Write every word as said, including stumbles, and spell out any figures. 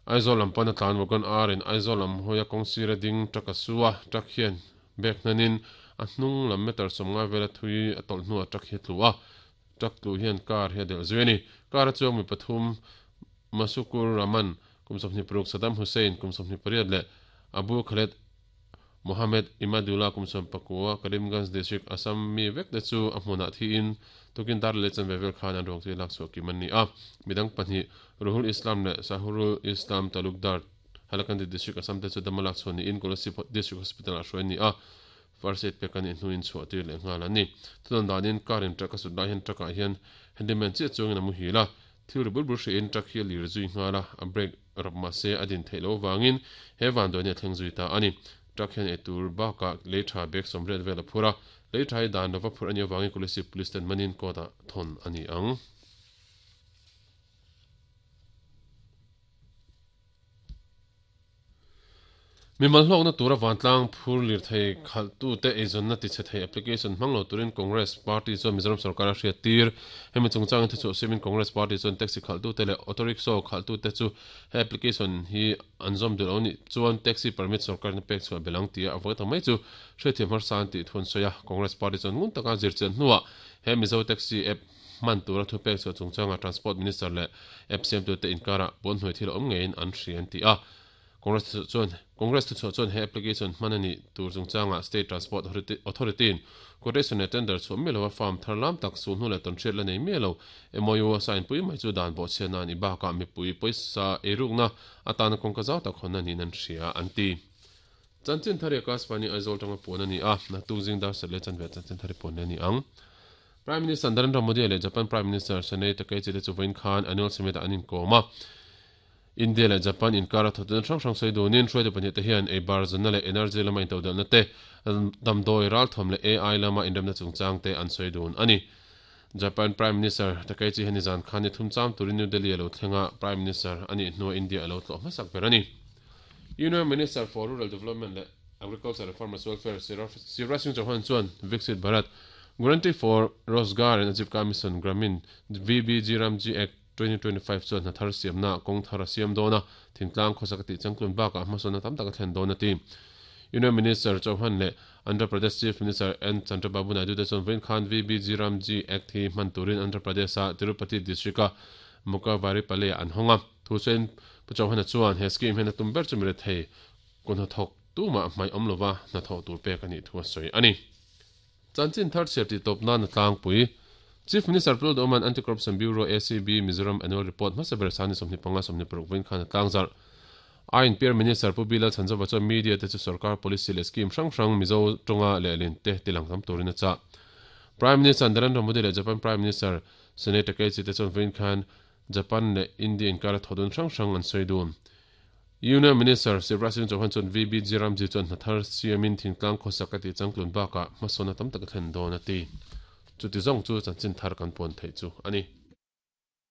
Aizawl lam pana tlan wagon R in Aizawl lam hawia kawng sira ding truck a su a truck hian bek hnanin a hnung lam meter sawmnga vela thui a tawlh hnuah truck hi a tlu a truck tlu hian car hi a delh zui a ni car a chuang mi pathum Masukur Rahman kum sawmhnih paruk Saddam Hussein kum sawmhnih pariat leh Abu Khaled Mohammed Imadullah kum sawm pakua Karimganj district Assam mi vek te chu a hmunah thiin tukin dar leh chanve vel khan an ruang chu lak chhuah kim an ni a midang pahnih Ruhul Islam leh Sahurul Islam Talukdar Hailakandi district Assam te chu dama lak chhuah niin Kolasib district hospital ah hruai an ni a first aid pek a nih hnuin chhuah tir leh nghal an ni thudawn danin car in truck a sut lai hian truck ah hian handyman chiah chuangin a muhil a thil ri bur bur hriin truck hi a lir zui nghal a a brake rap mahse a din theih loh avangin he vanduai hi a thleng zui ta a ni truck hian eitur bakah lei tha bag sawmriat vel a phur a lei tha hi dan lova phurh a nih avangin Kolasib police ten manin court ah thawn a ni ang. Mimal hlawkna tura vantlang phur lir thei khalhtute eizawnna tichhe thei application hmang lo turin Congress Party chuan Mizoram sorkar a hriat tir. Hemi chungchangin thuchhuah siamin Congress Party chuan taxi khalhtute leh auto rickshaw khalhtute chu he application hi an zawm duh lo nih chuan taxi permit sorkarin a pek chhuah bel ang tia a vawi ta mai chu hriatthiam harsa an tih thu an sawi a. Congress Party chuan ngun taka zirchian hnuah he Mizo Taxi app hman tura thu pek chhuah chungchanga Transport Minister leh app siamtute inkarah pawnhnuai thil a awm ngeiin an hria an ti a. Congress chuan Congress thuchhuah chuan he application hman a nih tur chungchangah State Transport Authority in quotation leh tender chhuah miah lova farm thar lam tak sulhnu leh tawnhriat la nei miah lo M O U a sign pui mai chu dan bawhchhiatna a nih bakah mipui pawisa eirukna atana kawngka zau tak hawnna niin an hria an ti. Chanchin thar i Akashvani Aizawl tanga puan a ni a, naktuk zing dar sat leh chanve chanchin thar i puan leh a ni ang. Prime Minister Narendra Modi leh Japan Prime Minister Sanae Takaichi te chu vawiin khan annual summit ah an inkawm a. India leh Japan inkara thawhchawhna hrang hrang sawi dunin hruaitu pahnih te hian ei bar zanna leh energy lama intodelhna te, damdawi ralthawm leh A I lama inremna chungchang te an sawi dun a ni. Japan Prime Minister Takaichi hian nizan khan ni thum cham turin New Delhi a lo thleng a, Prime Minister a nih hnuah India a lo tlawh hmasak ber a ni. Union Minister for Rural Development leh Agriculture and Farmers Welfare Shivraj Singh Chauhan chuan Viksit Bharat Guarantee for Rozgar and Ajivika Mission Gramin V B G Ramji Act twenty twenty five chuan hna thar siamna kawng thar a siam dawn a, thingtlang khawsak a tih changtlun bakah hmasawnna tam tak a thlen dawn a ti. Union Minister Chauhan leh Andhra Pradesh Chief Minister N Chandrababu Naidu te chuan vawiin khan V B G Ramji Act hi hman turin Andhra Pradesh-a Tirupati District-a Mukavaripalli-ah an hawng a. Thu sawiin Pu Chauhan-a chuan he scheme hian a tum ber chu mi rethei kawng hnathawk tumah hmaih awm lova hnathawh tur pek a nih thu a sawi a ni. Chanchin thar chhiar tih tawp nan a tlangpui. Chief Minister Pu Lalduhawma'n Anti-Corruption Bureau, A C B, Mizoram Annual Report hmasa ber Sani sawmhnih panga sawmhnih paruk vawiin khan a tlangzarh. I N P R Minister Pu Bilal Chhanzova chuan media te chu sorkar policy leh scheme hrang hrang Mizo tawnga lehlin te tilang tam turin a chah. Prime Minister Narendra Modi leh Japan Prime Minister Sanae Takaichi te chuan vawiin khan Japan leh India inkara thawhdun hrang hrang an sawi dun. Union Minister Shivraj Singh Chauhan chuan V B G Ramji chuan hna thar siamin thingtlang khawsak a tih changtlun bakah hmasawnna tam tak a thlen dawn a ti. Chuti zawng chu chanchin thar kan puan theih chu a ni.